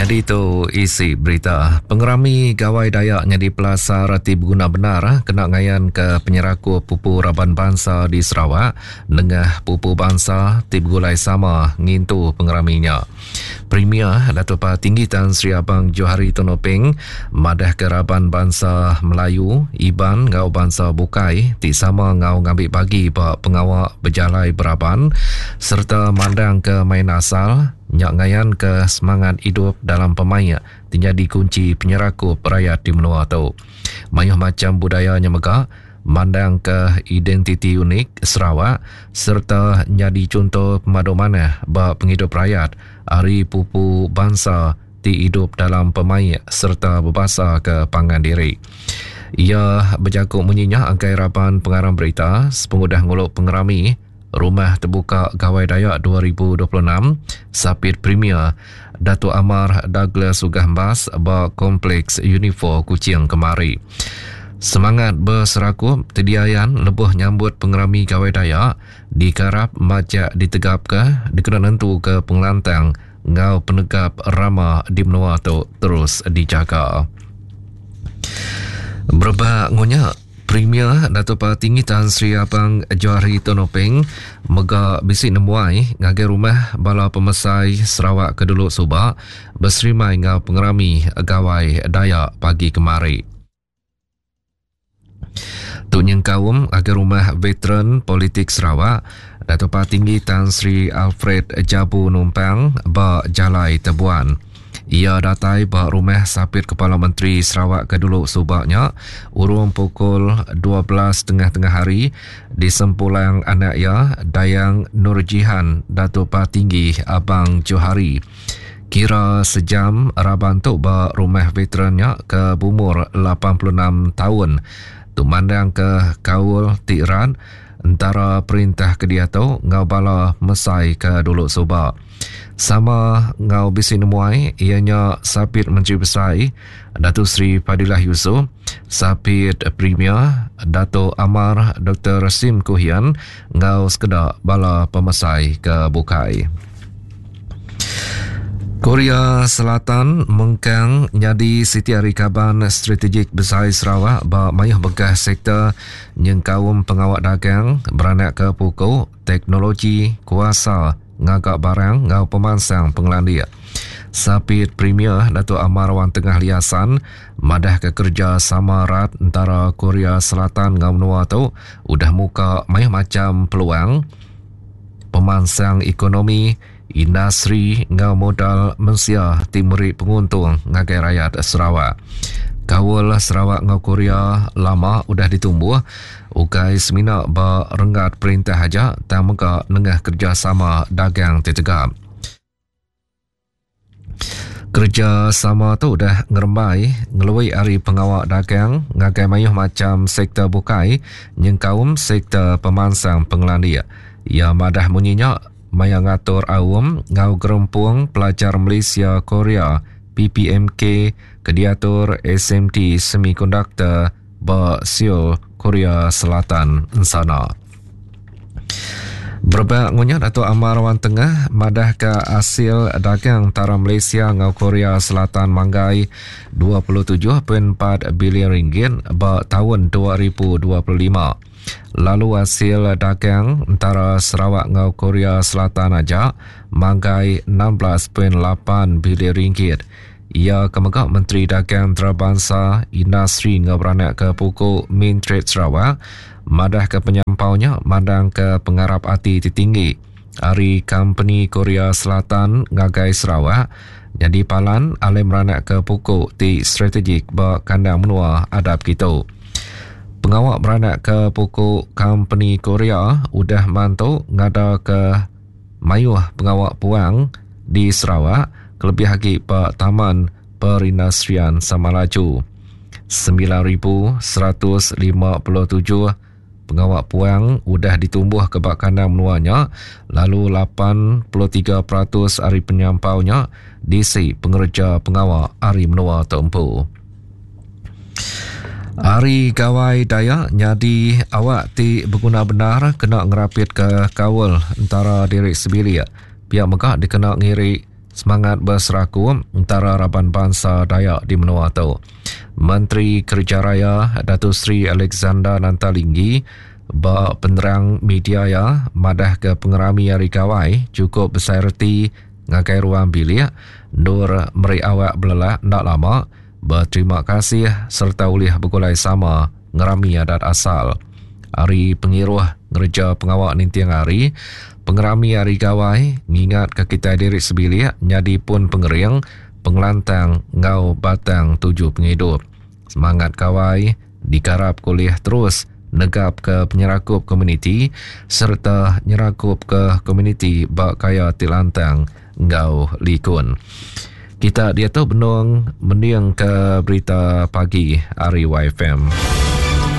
Nyadi tu isi berita. Pengerami Gawai Dayak nyadi pelasar ti beguna bendar kena ngayanka penyerakup pupu raban bansa di Sarawak nengah pupu bansa ti begulai sama ngintu pengerami nya. Premier Datuk Patinggi Tan Sri Abang Johari Tun Openg madahka raban bansa Melayu, Iban enggau bansa bukai ti sama enggau ngambi bagi ba pengawa bejalai beraban sereta mandangka main asal nya ngayanka semangat idup dalam pemaik ti nyadi kunchi penyerakup rayat di menua tu. Mayuh macham budaya nya mega mandangka identiti unik Sarawak sereta nyadi chunto pemadu manah ba pengidup rayat ari pupu bansa ti idup dalam pemaik sereta bebasaka pangan diri. Iya bejaku munyi nya ngagai raban pengarang berita sepengudah ngulu pengerami Rumah Tebuka Gawai Dayak 2026 Sapit Premier Datuk Amar Douglas Uggah Embas ba Kompleks Unifor Kuching kemari. Semangat beserakup ti diayan lebuh nyambut pengerami Gawai Dayak dikarap majak ditegapka dikena nentuka pengelantang enggau penegap rama di menua tu terus dijaga. Berebak enggau nya, Premier Datuk Patinggi Tan Sri Abang Johari Tun Openg mega bisi nemuai ngagai rumah bala pemesai Sarawak ke dulu suba beserimai enggau pengerami Gawai Dayak pagi kemari. Tu nyengkaum ngagai rumah veteran politik Sarawak Datuk Patinggi Tan Sri Alfred Jabu Numpang ba Jalai Tebuan. Iya datai ba rumah Sapit Kepala Menteri Sarawak ke dulu suba nya urung pukul 12 tengah-tengah hari disempulang anak iya Dayang Nurjihan Datuk Patinggi Abang Johari. Kira sejam raban tu ba rumah veteran nya ke beumur 86 taun tu mandangka kaul ti rat entara perintah ke diatu enggau bala mesai ke dulu suba. Sama enggau bisi nemuai iya nya Sapit Menteri Besai Datuk Seri Fadillah Yusof, Sapit Premier Datuk Amar Doktor Sim Kui Hian enggau sekeda bala pemesai ke bukai. Korea Selatan mengkang nyadi siti ari kaban strategik besai Sarawak ba mayuh bengkah sektor nyengkaum pengawa dagang, beranakka puku, teknologi, kuasa, ngaga barang enggau pemansang pengelandik. Sapit Premier Datuk Amar Wan Tengah Liasan madahka kerejasama rat entara Korea Selatan enggau menua tu udah muka mayuh macham peluang pemansang ekonomi, industri enggau modal mensia ti meri penguntung ngagai rayat Sarawak. Kaul Sarawak enggau Korea lama udah ditumbuh ukai semina ba renggat perintah aja tang mega nengah kerejasama dagang ti tegap. Kerejasama tu udah ngerembai ngelui ari pengawa dagang ngagai mayuh macham sektor bukai nyengkaum sektor pemansang pengelandik. Iya madah munyi nya maya ngatur aum enggau Gerempung Pelajar Malaysia Korea, PPMK, ke diatur SMT Semikonduktor ba Seoul, Korea Selatan ensana. Berebak ngunya Datuk Amar Wan Tengah madahka asil dagang entara Malaysia enggau Korea Selatan manggai 27.4 bilion ringgit ba taun 2025. Lalu asil dagang entara Sarawak enggau Korea Selatan aja manggai 16.8 bilion ringgit. Iya ke mega Menteri Dagang Entarabansa, Industri enggau Beranakka Puku Mintred Sarawak madahka penyampau nya mandangka pengarap ati ti tinggi ari kompeni Korea Selatan ngagai Sarawak nyadi palan alai meranakka puku ti strategik ba kandang menua adap kitu. Pengawa meranakka puku kompeni Korea udah mantu ngadaka mayuh pengawa puang di Sarawak kelebih agi ba Taman Perindustrian Samalaju. 9,157 pengawa puang udah ditumbuhka ba kandang menua nya lalu 83% ari penyampau nya diisi pengereja pengawa ari menua tu empu. Hari Gawai Dayak nyadi awak ti beguna bendar kena ngerapitka kaul entara diri sebilik. Pia mega dikena ngiri. semangat beserakup entara raban bansa Dayak di menua tu. Menteri Kereja Raya Dato Sri Alexander Nanta Linggi ba penerang media iya madahka pengerami Hari Gawai chukup besai reti ngagai ruang bilik endur meri awak belelak enda lama beterima kasih sereta ulih begulai sama ngerami adat asal. Ari pengiruh ngereja pengawa ninting hari, pengerami Hari Gawai ngingatka kitai diri sebilik nyadi pun pengering, pengelantang enggau batang tuju pengidup. Semangat gawai dikarapka ulih terus negapka penyerakup komuniti sereta nyerakupka komuniti ba gaya ti lantang enggau likun. Kita diatu benung mendingka berita pagi ari YFM.